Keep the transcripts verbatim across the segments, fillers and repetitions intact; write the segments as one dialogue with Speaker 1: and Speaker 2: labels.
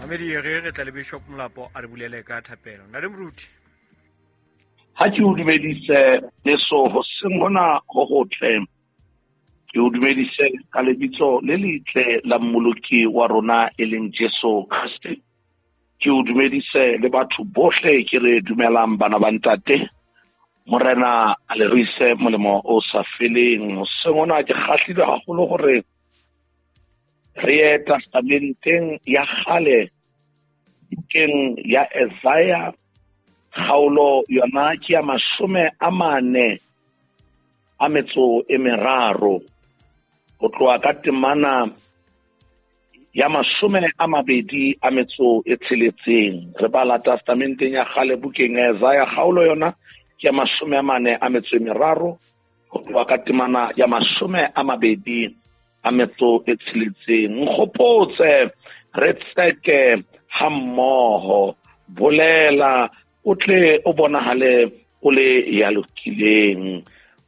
Speaker 1: Mamedi re re tla le Bishop Molapo a re bulele ka thapelo. Ntate Moruti.
Speaker 2: Ha ke o dumedise leso hoseng hona ho hotle. Ke o dumedise ka lebitso le letle la Mmoloki wa rona e leng Jesu Kriste. Ke o dumedise le batho bohle ke re dumelang bana ba ntate. Morena a le ruise molemo o sa feleng. Hoseng hona ke kgahlilwe haholo hore re ye testamenteng ya kgale, bukeng ya Isaiah, kgaolo yona ke ya mashome a mane a metso e meraro, ho tloha ka temana ya mashome a mabedi a metso e tsheletseng. Re bala testamenteng ya kgale bukeng ya Isaiah, kgaolo yona ke ya mashome a mane a metso e meraro, ho tloha ka temana ya mashome a mabedi a metso e tsheletseng. Nkgopotse re tseke ha mmoho, bolela o tle o bonahale o le ya lokileng.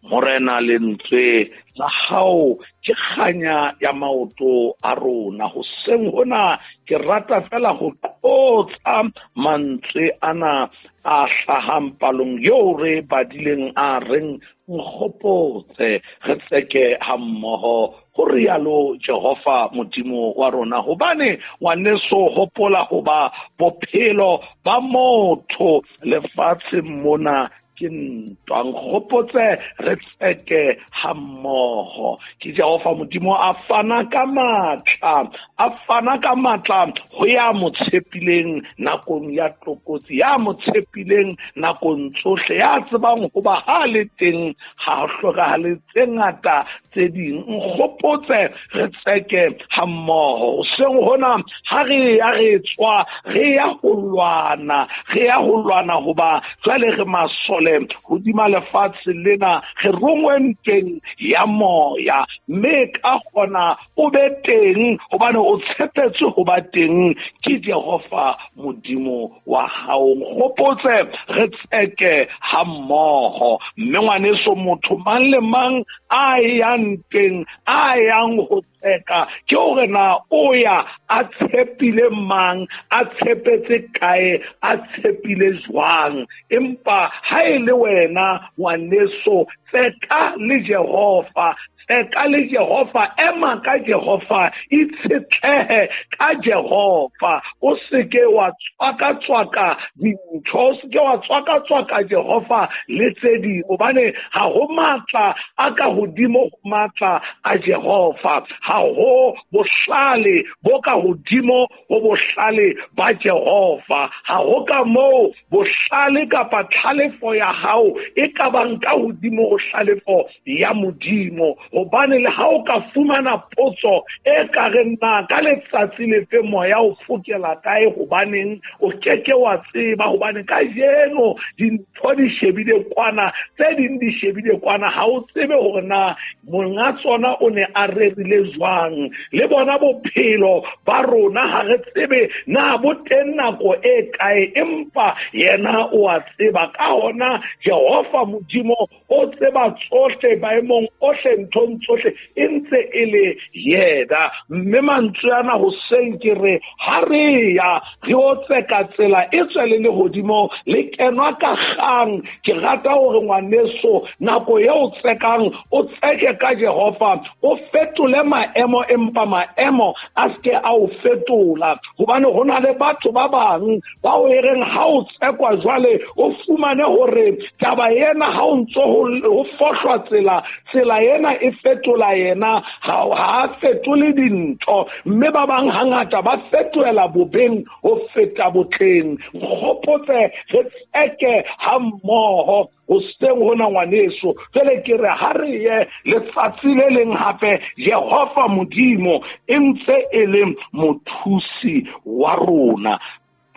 Speaker 2: Morena, lentswe la hao ke kganya ya maoto a rona. Hoseng hona ke rata fela ho qotsa mantswe ana a hlahang palong eo re badileng a reng nkgopotse re tseke ha mmoho, ho rialo Jehova Modimo wa rona. Hobane ngwaneso, hopola hoba bophelo ba motho lefatsheng mona ke ntwa. Nkgopotse re tseke ha mmoho. Ke Jehova Modimo a fana ka matla, a fana ka matla ho ya mo tshepileng nakong ya tlokotsi, ya mo tshepileng nakong tsohle, ya tsebang hoba ha le teng ha ho hlokahale tse ngata tse ding. Nkgopotse re tseke ha mmoho. Hoseng hona ha re ya re tswa, re ya ho lwana, re ya ho lwana hoba jwale re masole hodima lefatshe lena, re rongwe ntweng ya moya, mme ka kgona o be teng hobane o tshepetse ho ba teng ke Jehova Modimo wa hao. Nkgopotse re tseke ha mmoho. Mme ngwaneso, motho mang le mang a yang ntweng, a yang ho tseka, ke hore na o ya a tshepile mang, a tshepetse kae, a tshepile jwang. Empa ha e le wena ngwaneso, tseka le Jehova, tseka le Jehova, ema ka Jehova, itshetlehe ka Jehova. O seke wa tswaka-tswaka dintho, o seke wa tswaka-tswaka Jehova le tse ding, hobane ha ho matla a ka hodimo ho matla a Jehova, ha ho bohlale bo ka hodimo ho bohlale ba Jehova, ha ho ka moo bohlale kapa tlhalefo ya hao e ka bang ka hodimo ho hlalefo ya Modimo. Hobane le ha o ka fumana potso e ka reng na ka letsatsi lefe moya o fokela kae, hobaneng o keke wa tseba, hobane kajeno dintho di shebile kwana, tse ding di shebile kwana, ha o tsebe hore na monga tsona o ne a rerile jwang. Le bona bophelo ba rona ha re tsebe na bo teng nako e kae, empa yena o a tseba. Ka hona Jehova Modimo o tseba tsohle maemong ohle, nthong tsohle, e ntse e le yena. Mme mantswe ana hoseng ke re ha re ya re o tseka tsela e tswe le lehodimo le kenwa ka kgang. Ke rata hore ngwaneso, nako eo o tsekang o tseke ka Jehova, o fetole maemo, empa maemo a seke a o fetola. Hobane ho na le batho ba bang bao e reng ha o tsekwa jwale o fumane hore taba ena ha o ntso ho fohlwa tsela, tsela ena e fetola yena, ha ha fetole dintho. Mme ba bang hangata ba fetohela bobeng ho feta botleng. Nkgopotse re tseke ha mmoho hoseng hona ngwaneso. Jwale ke re ha re ye letsatsi le leng hape, Jehova Modimo e ntse e le mothusi wa rona.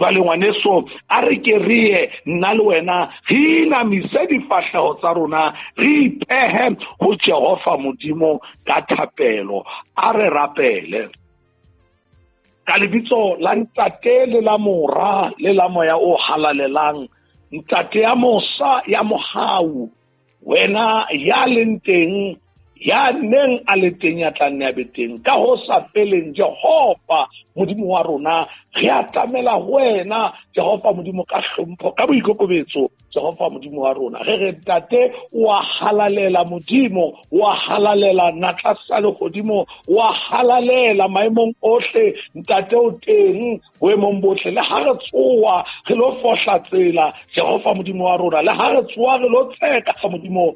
Speaker 2: Jwale ngwaneso, a re ke re ye nna le wena re inamise difahleho tsa rona, re ipehe ho Jehova Modimo ka thapelo. A re rapele. Ka lebitso la Ntate le la Mora le la Moya o Halalelang, Ntate ya mosa ya mohau, wena ya leng teng, ya neng a le teng, ya tla nne a be teng ka ho sa feleng, Jehova Modimo wa rona. Re atamela ho wena Jehova Modimo ka hlompho, ka boikokobetso, Jehova Modimo wa rona. Re re Ntate wa halalela Modimo, wa halalela natla sa lehodimo, wa halalela maemong ohle. Ntate o teng boemong bohle. Le ha re tsoa re lo fohla tsela, Jehova Modimo wa rona, le ha re tsoa re lo tseka Modimo,